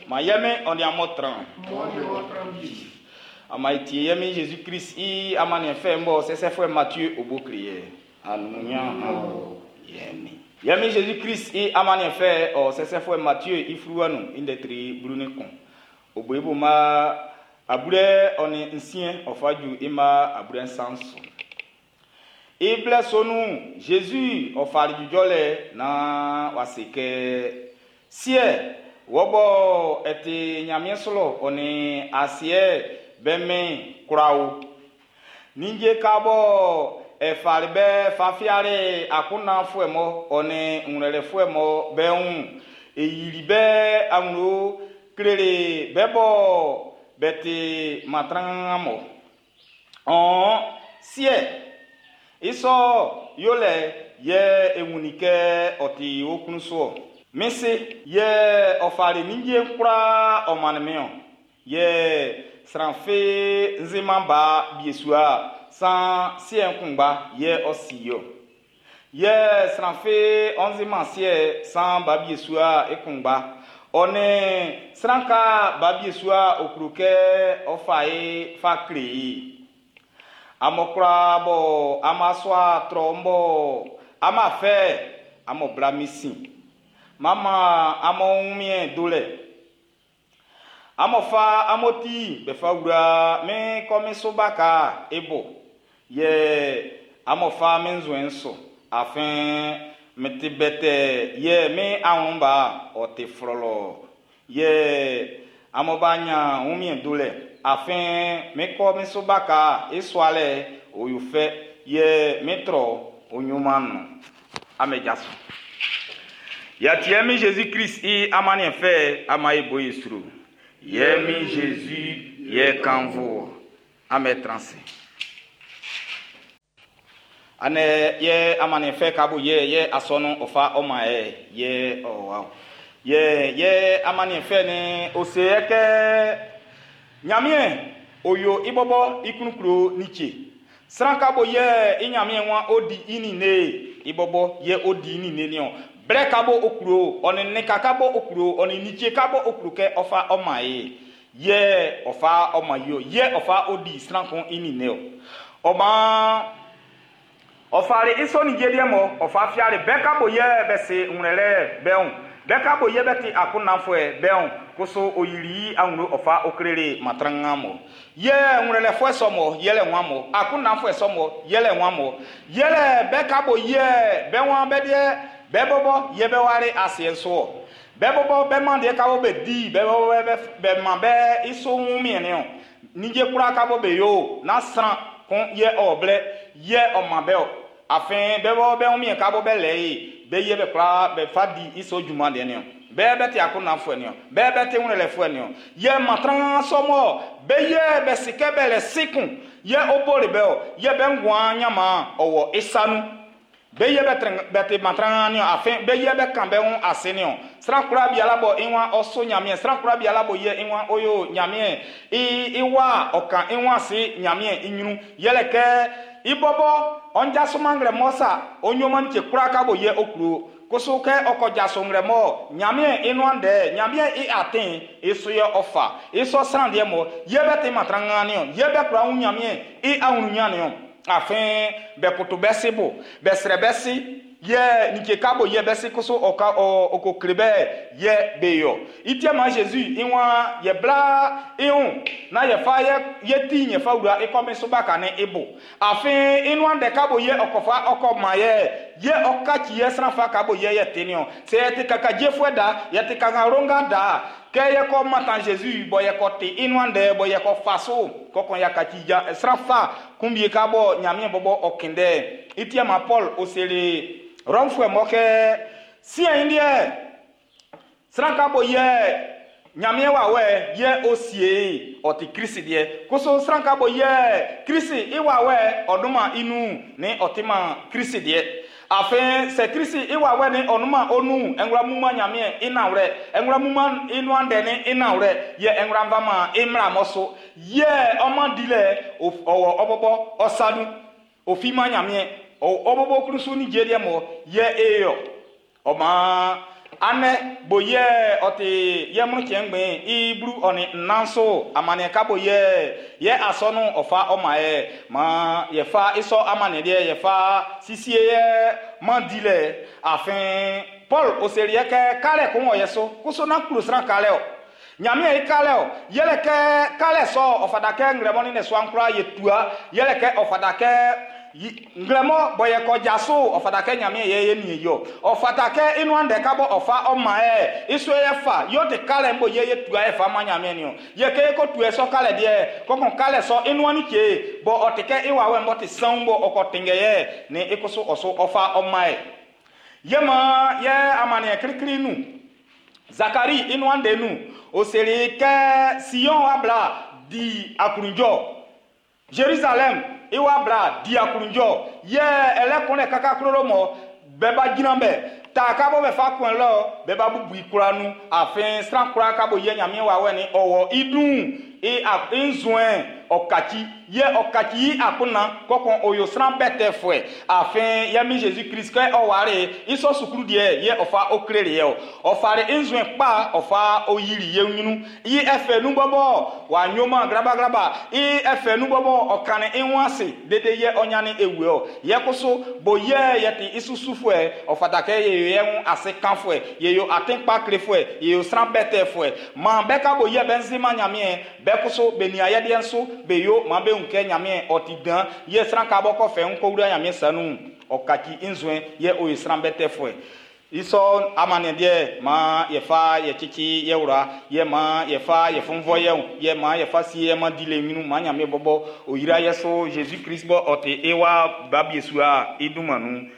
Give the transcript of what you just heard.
Ma yɛ min ɔ ni amun tran. Ɔ ni wɔ tran wie. Ama etie yɛ min Jésus Christ i amanniɛn fɛ bɔ sɛsɛfuɛ Matthieu obo kle yɛ. Anunya yɛ min. Yɛ min Jésus Christ i amanniɛn fɛ ɔ sɛsɛfuɛ Matthieu i fluwa nun i ndɛ tri 11. Obo ibo ma abure ɔ ni nsiɛn ɔ fa ju i ma abure nsan su. I blɛ sɔ nun'n, Jésus ɔ fali jujɔlɛ naan w'a se kɛ, Siɛ, wɔ bɔ ɛ ti Nyanmiɛn su lɔ ɔ ni asiɛ bɛ mɛn kwlaa o. Ninnge ka bɔ ɛ fali bɛ fa fiali akunndanfuɛ mɔ ɔ ni ngwlɛlɛfuɛ mɔ bɛ wun, e yili bɛ awlo kleli bɛ bɔ bɛ ti matran mɔ. Ɔn, siɛ, i sɔ yolɛ yɛ e wunnin kɛ ɔ ti wo klun su ɔ. Min si, yɛ ɔ fali ninnge'n kwlaa ɔ mannin min ɔ. Yɛ sran fi nzinman ba biesua san siɛ'n kunngba yɛ ɔ si i ɔ. Yɛ sran fi ɔ nzinman siɛ san ba biesua i kunngba. Ɔ ni sran ka ba biesua o klo kɛ ɔ fa e fa kle i. Amun kwlaa bɔ amun asua trɔ bɔ amun afɛ amun bla min sin. Mama amun wunmiɛn dolɛ. Amun fa amun ti bɛ fa wura min kɔmin so baka e bo. Yɛ amun fa min nzuɛn'n su. Afin min ti bɛtɛ yɛ min awlɛnba ɔ ti flɔlɔ. Yɛ amun ba nya wunmiɛn dolɛ. Afin min kɔmin so baka e sualɛ o yo fɛ. Yɛ min trɔ o nyuman nun. Ame jaso. Yɛtiɛ mi Jésus Christ i amanniɛn fɛ ama e bo ye sro. Yɛ mi Jésus yɛ kanvo. Ame transe. Ane yɛ amanniɛn fɛ kabo yɛ yɛ asɔnu ɔfa ɔma yɛ yɛ ɔ wa. Yɛ yɛ amanniɛn fɛ ni ose yɛ kɛ Nyamiɛn oyo ibɔbɔ ikunkuro nitse. Sran kabo yɛ i Nyamiɛn wa odi ini ne ibɔbɔ yɛ odi ini ne niɔ. Blɛ kabo okuro ɔne ne kakabo okuro ɔne nitse kabo okuro kɛ ɔfa ɔma ye. Yɛ ɔfa ɔma yo yɛ ɔfa odi sran kun ini ne o. Ɔma ɔfari isɔ ni jeliɛ mɔ ɔfa fiari bɛɛ kabo yɛ bɛ se ŋlɛlɛ bɛn bɛɛ kabo yɛ bɛ ti akunnafɔɛ bɛn koso oyiri aŋlo ɔfa okelele matranga mɔ yɛ ŋlɛlɛ fɔɛ sɔmɔ yɛlɛ ŋua mɔ akunnafɔɛ sɔmɔ yɛlɛ ŋua mɔ yɛlɛ bɛɛ kabo yɛ bɛ ŋua bɛ deɛ bɛ bɔbɔ yɛ bɛ wari asiɛ soɔ bɛ bɔbɔ bɛ ma deɛ kabo bɛ di bɛ bɔbɔ bɛ bɛ ma bɛ iso ŋu miɛnɛ o nidze kura kabo bɛ yo na sran kun yɛ ɔblɛ yɛ ɔma bɛ o afin bɛ bɔ bɛ ŋu miɛn kabo bɛ lɛ ye bɛ yɛ bɛ kura bɛ fa di iso juma deɛ ni o bɛɛ bɛ ti akunnafɔɛ ni o bɛɛ bɛ ti ŋlɛlɛfɔɛ ni o yɛ matran sɔmɔ bɛ yɛ bɛ sikɛ bɛ lɛ sikun yɛ o bori bɛ o yɛ bɛ ŋua nyama ɔwɔ isanu bɛ yɛ bɛ trɛn bɛ ti matran ni o afin bɛ yɛ bɛ kan bɛ ŋu ase ni o sran kura bi ala bɔ iwa ɔso nyamiɛ sran kura bi ala bɔ yɛ iwa oyo nyamiɛ i iwa ɔkan iwa si nyamiɛ inyunu yɛlɛ kɛ ibɔbɔ ɔndza sumangrɛ mɔsa onyoma ntse kura kabo yɛ okuro koso kɛ ɔkɔdza songrɛ mɔ nyamiɛ inuandɛ nyamiɛ i aten esu yɛ ɔfa esɔ sran deɛ mɔ yɛ bɛ ti matran ni o yɛ bɛ kura ŋu nyamiɛ i awunu nya ni o afin bɛ koto bɛ se bo bɛ srɛ bɛ si yɛ nike kabo yɛ bɛ si koso ɔka ɔ ɔkò kle bɛ yɛ be yɔ itie ma Jésus iwa yɛ bla ihun na yɛ fa yɛ yɛ ti yɛ fa wura ikɔmi so ba ka ne ibo afin inuandɛ kabo yɛ ɔkɔfa ɔkɔ ma yɛ yɛ ɔkatsi yɛ sran fa kabo yɛ yɛ teni o sɛ yɛ ti kaka dzefuɛ da yɛ ti kaka ronga da kɛ yɛ kɔ matan Jésus bɔ yɛ kɔ te inuandɛ bɔ yɛ kɔ fa so kɔkɔn ya katsi dza sran fa kunbie kabɔ Nyamiɛ bɔbɔ ɔkindɛ itie ma Paul osele Rɔmfuɛ mɔ kɛ siɛ yi deɛ sran kabo yɛ Nyamiɛ wa wɛ yɛ osie ɔti Krisi deɛ koso sran kabo yɛ Krisi i wa wɛ ɔduma inu ni ɔti ma Krisi deɛ afin sɛ Krisi i wa wɛ ni ɔnuma onu ɛŋlɔ muma Nyamiɛ inawlɛ ɛŋlɔ muma inuandɛ ni inawlɛ yɛ ɛŋlɔ nvama imla mɔso yɛ ɔma di lɛ ɔwɔ ɔbɔbɔ ɔsadu ofima Nyamiɛ ɔbɔbɔ kurusu ni dze deɛ mɔ yɛ eyɔ ɔma Anɛ bo yɛ ɔ ti yɛ mlu cɛn ngbɛn i blu ɔ ni nnan so amaniɛ ka bo yɛ yɛ asɔnu ɔfa ɔma yɛ ma yɛ fa isɔ amaniɛ deɛ yɛ fa sisie yɛ man di lɛ afin Paul oseri yɛ kɛ kalɛ ko wɔ yɛ so koso na klo sran kalɛ o Ɲanmiɛn i kalɛ o yɛlɛ kɛ kalɛ sɔ ɔ fata kɛ nglɛmɔ ni ne suan kura yɛ tua yɛlɛ kɛ ɔ fata kɛ nglɛmɔ bɔ yɛ kɔ jaso ɔ fata kɛ Ɲanmiɛn yɛ yɛ nie yɔ ɔ fata kɛ inuan dɛ ka bɔ ɔ fa ɔ ma yɛ iso yɛ fa yɔ te kalɛ mbɔ yɛ yɛ tua yɛ fa ma Ɲanmiɛn ni o yɛ kɛ ko tua sɔ kalɛ deɛ kɔkɔn kalɛ sɔ inuan ni ke bɔ ɔ te kɛ iwa wɛ mbɔ te san bɔ ɔ kɔ tengɛ yɛ ni ikoso ɔso ɔ fa ɔ ma yɛ yɛ ma yɛ amaniɛ kirikiri nu Zakari inuan de nu o seri kɛ Sion wa bla di akunjɔ Jerusalem iwa bla di akunjɔ yɛ ɛlɛ kɔnɛ kaka klolo mɔ bɛɛ ba gyina bɛ ta ka bɔ bɛ fa kɔn lɔ bɛɛ ba bubu ikura nu afin sran kura ka bo yɛ Ɲanmiɛn wa wɛ ni ɔwɔ idun i a i nzuɛn ɔkatsi yɛ ɔkatsi yi akuna kɔkɔn oyo sran bɛ tɛ fɔɛ afin yɛ mi Jésus Christ kɛ ɔware isɔ sukulu deɛ yɛ ɔfa oklere yɛ o ɔfare nzuɛn kpa ɔfa oyiri yɛ nyinu yi ɛfɛ nu bɔbɔ wa nyoma grabagraba yi ɛfɛ nu bɔbɔ ɔkani iwọn ase dede yɛ ɔnyani ewu o yɛ koso bo yɛ yɛ ti isusu fɔɛ ɔfata kɛ yɛ yɛ ŋu ase kan fɔɛ yɛ yo atenkpa kle fɔɛ yɛ yo sran bɛ tɛ fɔɛ maa bɛ ka bo yɛ bɛ nzema Ɲanmiɛn bɛ koso bɛ nia yɛ deɛ nso bɛ yo maa bɛ ŋu kɛ Ɲanmiɛn ɔti dan yɛ sran ka bɔ kɔfɛ ŋu ko wura Ɲanmiɛn sanu ɔkatsi nzuɛn yɛ o ye sran bɛ tɛ fɔɛ isɔ amaniɛ deɛ ma yɛfa yɛ tsitsi yɛ wura yɛ ma yɛfa yɛ fɔnfɔ yɛ o yɛ ma yɛfa si yɛ ma di le ŋinu ma Ɲanmiɛn bɔbɔ o yira yɛ so Jésus Christ bɔ ɔte ewa babie sua idumanu.